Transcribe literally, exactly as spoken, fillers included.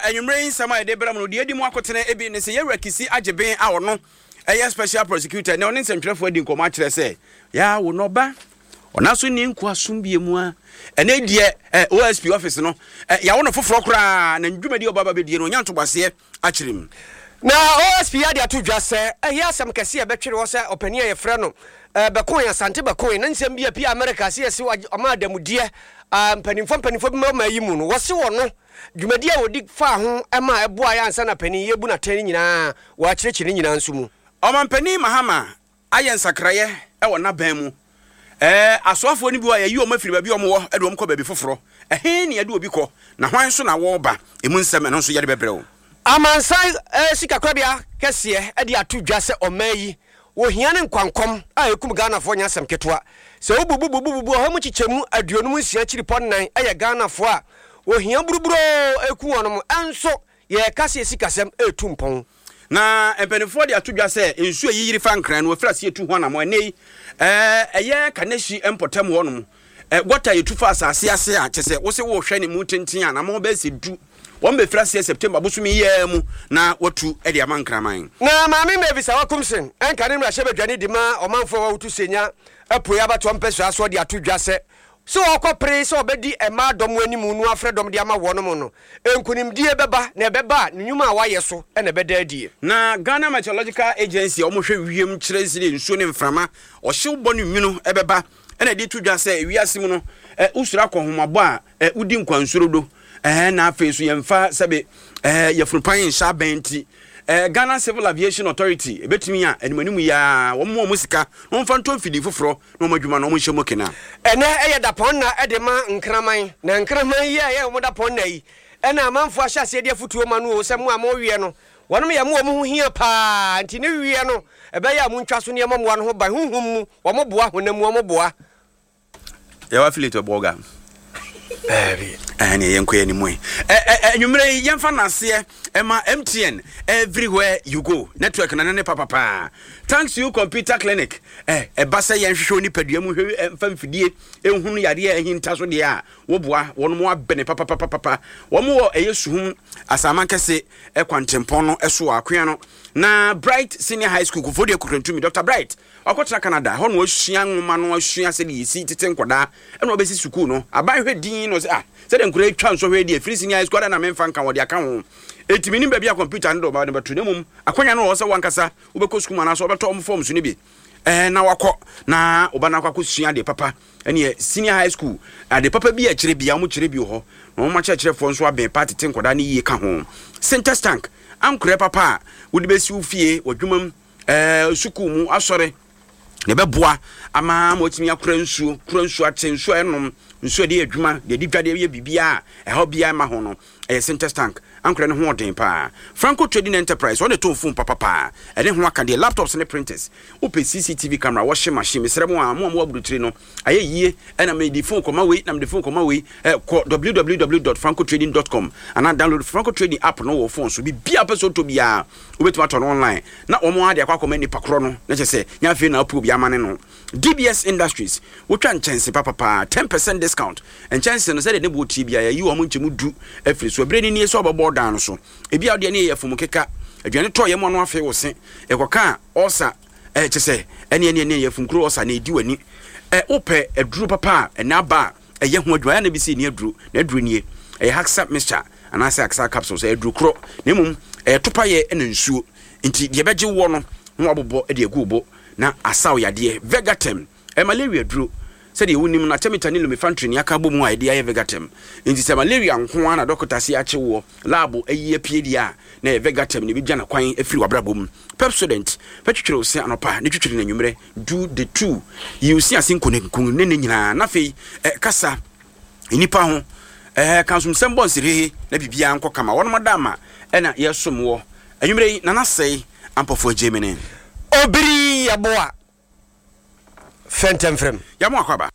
Anwummerɛ yi nsɛm a yɛde brɛ mu no, deɛ edi mu akotene ebi ne sɛ yɛwura Kissi Agyebeng a ɔno ɛyɛ special prosecutor na ɔne nsɛntwerɛfoɔ adi nkɔmmɔ akyerɛ sɛ yɛawo n'ɔba ɔna so ne nkoasom bie mu a ɛnɛ deɛ ɛ O S P office no ɛ yɛawo no foforɔ koraa na ndwumadi a ɔba ba bɛdie no, ɔnya ntoboaseɛ akyerɛ mu. Na O S P ade ato dwa sɛ ɛyɛ asɛm kɛse a ɛbɛtwere hɔ sɛ ɔpanin a yɛfrɛ no Bekoe, Asante Bekoe, ne nsɛm bi a pia America sɛ yɛse ɔma adamudeɛ mpanimfoɔ mpanimfoɔ bi ma ɔma yi mu no, wɔse wɔ no dwumadi a wɔdi faa ho ma ɛboa yɛ ansa na panin yɛbu n'atɛn no nyinaa, wɔakyerɛkyerɛ ne nyinaa nso mu. Ɔmampanin Mahama ayɛ nsakraeɛ ɛwɔ n'aban mu. ɛɛ asoafoɔ no bi wɔ a yɛyi wɔn afiri baabi a wɔn wɔ ɛde wɔn kɔ baabi foforɔ. Ɛhe ne yɛde obi kɔ na hwan nso na wɔreba? Emu nsɛm ɛno nso yɛde bɛbrɛ wo. Amansan eh, sikakorabea kɛseɛ de ato dwa sɛ ɔman yi wɔhia ne nkwankɔm a ɛkum Ghanafoɔ nyɛ asɛm ketewa sɛ wobububububu ɔha mu kyekyɛmu aduonum nsia kyiripɔ nnan ɛyɛ Ghanafoɔ a wɔhia buruburoo ɛku wɔnom, ɛnso yɛka sɛ sikasɛm ɛretu mpɔn. Na mpanimfoɔ de ato dwa sɛ nsuo a yiyiri fa Nkran no, wɔfiri aseɛ tu ho anammɔ ɛnɛ yi. ɛɛ ɛyɛ Kanehyi mpɔtam hɔnom ɛ gɔta yɛtu fa asase ase a kyɛ sɛ wosɛ wɔrehwɛ ne mu tenten a anammɔ bɛyɛ sɛ du, wɔn bɛfiri aseɛ September bosomi yi mu na watu de ama Nkraman. Na Maame Mavis Awakumsen ɛnka ne mmarahyɛ badwane di ma ɔmanfoɔ a wɔwoto Senya Apuei abatoɔ mpɛsoa soɔ de ato dwa sɛ sɛ wɔkɔ pere sɛ ɔbɛdi mmaa dɔm anim no afrɛ dɔm de ama wɔnom no, nkonimdie bɛba na ɛbɛba a ne nnwuma a wayɛ so ɛna ɛbɛda adie. Na Ghana Meteorological Agency a wɔhwɛ wiem kyerɛ sɛ nsuo ne mframa, ɔhyew bɔ ne nwunu ɛbɛba, ɛna ɛde to dwa sɛ wiase mu no ɛ wosoro akɔhomabɔ a ɛ wodi nkwansoro do ɛɛ na afei so yɛmfa sɛbe ɛɛ yɛfunupan nhyɛ abɛn nti ɛɛ Ghana Civil Aviation Authority ebetumi a animanim yi a wɔn mu wɔn sika na wɔmfa ntɔ mfidie foforɔ na wɔn adwuma no wɔn nhyɛ mu kena. Ɛnɛ ɛyɛ dapɔn na ɛde ma nkraman, na nkraman yi a ɛyɛ wɔn dapɔn na yi ɛna amanfoɔ ahyɛ aseɛ de afotuo ma no o sɛ mo a moweɛ no, wɔnom yɛ mo wɔn ho hia paa, nti ne wie no ɛbɛyɛ a montwa so nneɛma mmoa no ho ban. Honhom mu wɔn boa, honam mu wɔn boa. Yɛwɔ affiliate bɔga. Baabi. Ɛne yɛnkɔ yɛ anim yi. Anwummerɛ yi yɛmfa naseɛ ɛma M T N, everywhere you go network na ne ne papapaa. Thanks You Computer Clinic, ɛ ɛba sɛ yɛnhwehwɛ wo nipadua mu hwɛ mfa mfidie ɛhunu yadeɛ a ɛhinta so deɛ a woboa wɔn mo abɛne papapapapa. Wɔn wɔ ɛyɛ Suhum Asaman Kɛse ɛkwantempɔn no ɛso wɔ akoa no na Bright Senior High School Kofoɔ Kukurantumi. Doctor Bright wakɔtena Canada hɔ na wasua nwoma no, asua sɛdeɛ yɛsi tete nkɔdaa, ɛna wabɛsi sukuu no. Aban hwɛ din no sɛ ah, sɛdeɛ nkɔdaa atwa nsɔhwɛ di afiri senior high school ada na memfa nka wɔde aka ho. Ɛtumi nim baabi a computer no de ɔba no bɛto, na mmom akwanya no wɔ hɔ sɛ wankasa wobɛkɔ sukuu mu anaasɛ wɔbɛtɔ ɔmo forms no bi ɛɛ na wakɔ na ɔba no akɔ akɔsua adeɛ papa. Ɛneɛ senior high school ade papa bi a kyerɛ bia ɔmo kyerɛ bi wɔ hɔ na wɔn akyerɛkyerɛfoɔ nso abɛn pa tete nkɔdaa no yie ka ho. Sintex tank, ankorɛ papa a wode bɛsi wo fie, w'adwuma mu, ɛɛ sukuu mu, asɔre na ɛbɛboa ama ma watumi akora nsuo, kora nsuo akyɛ, nsuo a ɛnom, nsuo a ɛde yɛ adwuma, deɛ ɛde dwa, deɛ ɛyɛ biribiara a ɛhaw biara ma ho no, ɛyɛ Sintex tank. Ankorɛ no ho ɔden paa. Franco Trading Enterprise, ɔne tɔn phone papapaa ɛne ho aka deɛ, laptops ne printers, wopɛ C C T V camera, washing machine. Mesrɛ mo a mo a mo aburukyiri no ayɛ yie ɛna mede phone kɔma wei na mede phone kɔma wei ɛ kɔ w w w dot francotrading dot com anaa download Franco Trading app no wɔ phone so. Biribiara pɛ sɛ ɔtɔ biara, wobɛtumi atɔ no online na wɔn ade akɔ akɔma nipa korɔ no na kyerɛ sɛ nyɛ afei na apo obi ama ne no. D B S Industries, wotwa nkyɛnse papapaa, ten percent discount. Nkyɛnse no sɛdeɛ ne boɔ tie biara, yɛyi wɔn nkyɛmu du afiri so. Ebere ni nie sɛ ɔbɛbɔ dan no so ebi a wodeɛ ne yɛ fom keka aduane tɔ yɛ mu ano afei wo se ɛkɔka a ɔsa ɛɛ kyɛ sɛ ɛne ɛne ɛne yɛ funkuro ɔsa na edi w'ani. Ɛ wopɛ aduro papa a ɛnɛ aba a ɛyɛ ho adwuma ɛyɛ na bi sɛ ɛni aduro na aduro nie, ɛyɛ Haxa mixture anaasɛ Haxa capsules. Ɛyɛ aduro korɔ na mmom ɛyɛ topayɛ ɛna nsuo, nti deɛ ɛbɛgye woɔ no na wabobɔ de agu wo bo na asaw yadeɛ. Vegatem ɛ malaria duro. Sɛdeɛ wonim no, artemether ne lumefantrine aka bɔ mu a yɛde ayɛ Vegatem, nti sɛ malaria nko ara na dɔkota se akye woɔ, lab ayi apue deɛ a, na ɛyɛ Vegatem na ɛbɛgya no kwan afiri w'abrabɔ mu. Pepsodent fɛtwitwiri wo se anɔpa ne twitwiri no anwummerɛ du de two yi wo se ase nkonenkun ne ne nyinaa. Na afei ɛ kasa nnipa ho ɛɛ ka nsomsɛm bɔ nsirhehe na biribiara nkɔ kama. Wɔnom ada ama ɛna yɛsom wɔ anwummerɛ yi. Nana Sɛe Ampɔfoɔ Agyemene. Obiri yɛboa fɛntɛmfrɛm. Yɛmo akɔ aba.